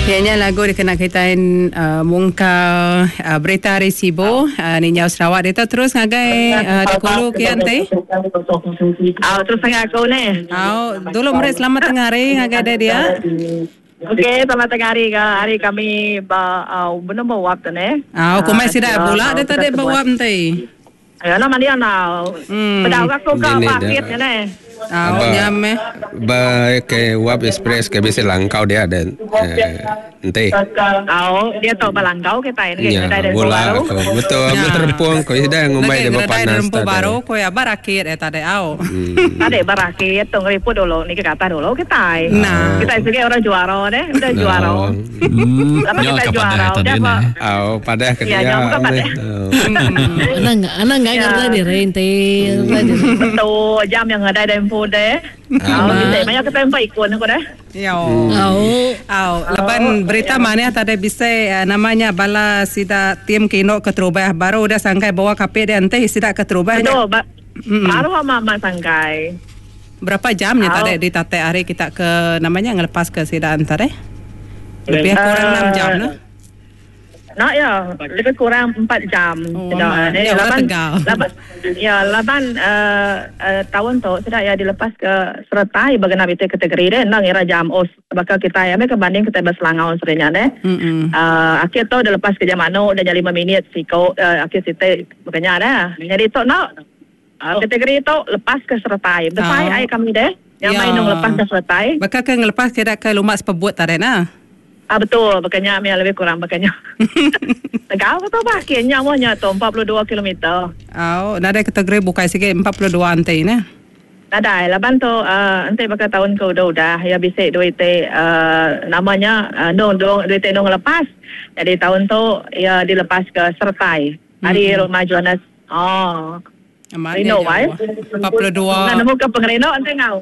Iya nya lagu dikena kitai mungkal berita ari Sibu ninjau Sarawak ditu terus ngagai Dikulu kian ti. Au terus ngagai aku neh. Au dulu meri selamat tengah hari ngagai deh dia. Okey selamat tengah hari ga hari kami ba benung ba wap tu neh. Au kumbai sida bula deh tadi ba wap enti. Ayo enda mandi andau. Peda orang aku ka ba akit nya neh. Au nya meh. Ba ke wap express ke bisi langkau dia de enti. Au dia tu ba langkau kitai negi ngedai deh baru. Betul amat terepung ko sida ngumbai dia bepanas tadi. Baru ko iya ba rakit iya tadi au. Tadi ba rakit tu ngeriput dulu niki ke atas dulu kitai. Kitai sigi orang juara deh udah juara. Laban kita juara udah ba. Au padah ke dia. Anang anang enggai ngeredai diri enti ngeredai diri. Betul jam yang ngeredai deh empu deh. Au bisi maya kita empa ikun aku deh. Yo. Au. Au laban berita manah tadi bisi nama nya bala sida tim ke indu keterubah baru udah sangkai bawa kapit dia enti sida keterubah nya. Betul baru amat amat sangkai. Berapa jam nya tadi ditatik ari kita ke nama nya ngelepas ke sida enta deh? Lebih kurang enam jam ne. Enda iya, lebih kurang empat jam Oh, sida amat. deh Nya orang laban Tegal. laban iya laban uhh taun tu sida iya dilepas ke seretai ba genap iti kategori deh enda ngira jam oh baka kitai ambi ke banding kitai ba Selangau seri nya deh. Uhh akhir tu dilepas ke jam anu udah nya lima minit siko uhh akhir siti baka nya deh. Nyadi tu enda. Kategori tu lepas ke seretai. Besai ai kami deh. Nyamai endung lepas ke seretai. Baka ke ngelepas kira ke lumba sepebut tadi nah. Ah betul baka nya mih lebih kurang baka nya. Tegau ke tu bah kin nya moh nya tu 42 kilometer. Au nadai kategori bukai sigi 42 enti neh. Nadai laban tu uhh enti baka taun ke udah udah iya bisi dua iti uhh nama nya endung dua iti endung ngelepas. Jadi taun tu iya dilepas ke seretai ari Rumah Jonas. Oh. Amat nya Rindu ai. jauh. 42. Enda nemu ke pengerindu enti enggau.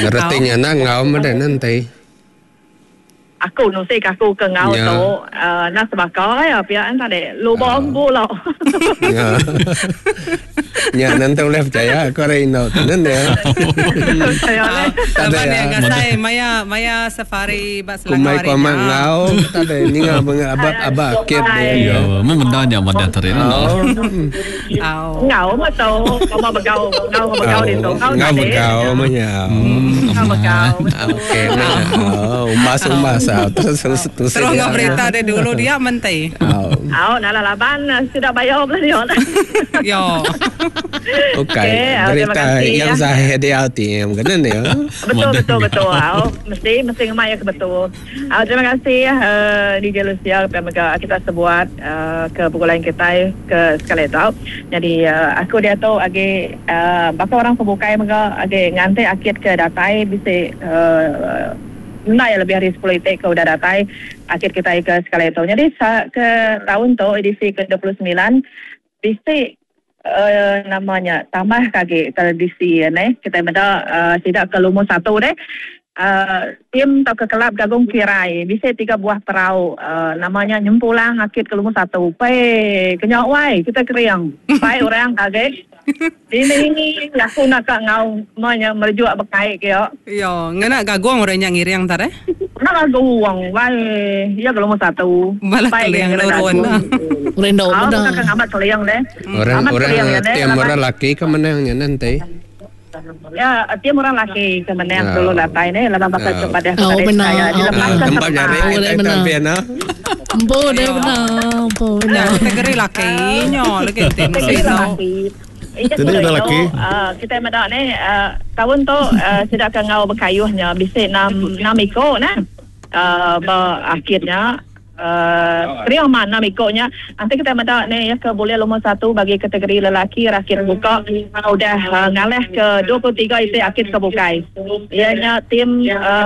Reti nya enda enggau meda nanti. Aku nusi ke aku ke enggau Ya. tu uh, enda sebaka ya pia en tadi. Luba empu lo. Ya. Nya nanti ulih percaya aku ari indu tu nen ya. Percaya leh. Tadi Laban ya. iya ngasai maya maya safari ba Selangor Kumbai hari ku amat nya. enggau tadi ninga abak abak akit dia. Ya, mun benda nya madah tadi ne. Oh. Au. Enggau meh tu. Sama begau, enggau begau ditu. Enggau Enggau tadi. begau meh nya. Enggau begau. Okey meh nya. Umbas umbas terus terus Terus enggau berita dia dulu dia menti. Au. Au nala laban sida bayo bela dia. Yo. Ukai Okey, au, terima berita kasih, yang ya. zahir dia ti kena ni. Betul betul betul. Au mesti mesti ngemai iya ke betul. Au terima kasih uh, DJ Lucia pia mega kita sebuat uh, ke begulai kitai ke sekali tu. Jadi uh, aku diatu agi uh, baka orang ke bukai mega agi nganti akit ke datai bisi uh, enda iya lebih ari sepuluh iti ke udah datai akit kitai ke sekali tu. Jadi ke taun tu edisi ke 29 bisi uh, nama nya tambah ke agi tradisi neh kitai meda uh, sida ke lumur satu deh uh, tim tauka kelab Gagung Kirai bisi tiga buah perau uh, nama nya nyempulang akit ke lumur satu. Pei kenya wai kita kering pai orang ke agi Dini aku enda ka enggau ma nya merejuk bekai ke iya. Iyo, ngena gagung orang nya ngiring tadi. Ngena gagung wai iya ke lumur satu. Bala Pai keling ngena nurun. gagung. Rindu Au meda. bukan ke ngamat keling deh. Orang Amat orang keling nya deh tim laban orang laki ke menang nya nanti. Ya, tim orang laki ke menang Oh. dulu datai deh laban baka Oh. ke padah Oh, tadi benar. saya Oh. dilepaskan Tempat serta. jari Boleh kita benar. pian ah. Empu deh benar. Empu Nya benar. kategori laki nyo lagi ti Kategori mesti tau. lelaki. Iya Tadi ku dah tu, laki. uh, kita meda ni uh, taun tu uh, sida ke enggau bekayuh nya bisi enam enam iko nah. Uh, ba akhir nya uh, kering amat enam iko nya. Enti kita meda ni iya ke bulih lumur satu bagi kategori lelaki rakit buka udah uh, ngalah ke 23 iti akit ke bukai. Iya nya tim uh,